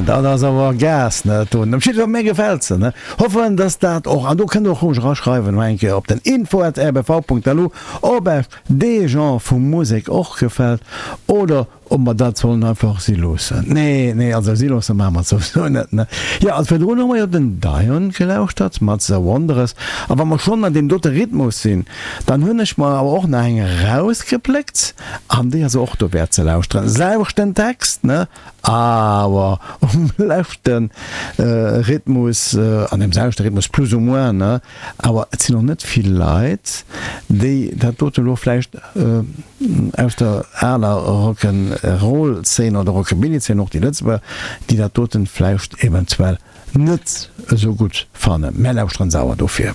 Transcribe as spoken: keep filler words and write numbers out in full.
Dat ass awer Gas, ne, dat doen. Op jidde Fall, mir gefält se, ne. Hoffen, dass dat och, an do kënnt Der och roueg eraschreiwen, nach eng Kéier op den info at rbv Punkt lu, ob Iech dee Genre vu Musek och gefält oder ob mer dat sollen einfach si loossen. Nee, nee, also si loosse maache mer et souwisou net, ne. Jo, also virdrun hu mer jo den Dion gelauschtert mat The Wanderers. A wa mer schonn an deem dote Rhythmus sinn, dann hunn ech mer awer och nach eng erausgepléckt an déi ass och dowäert ze lauschteren. Selwechten Text, ne, awer um leschte Rhythmus, an deem selwechte Rhythmus plus ou moins, ne, awer et sinn och net vill Leit, déi dat dote lo vläicht aus der aler Rock'n'Roll-Zeen oder Rockabilly-Zeen, och déi Lëtzebuerger, déi dat doten vläicht eventuell net esou gutt fannen. Mär lauschteren se awer dofir.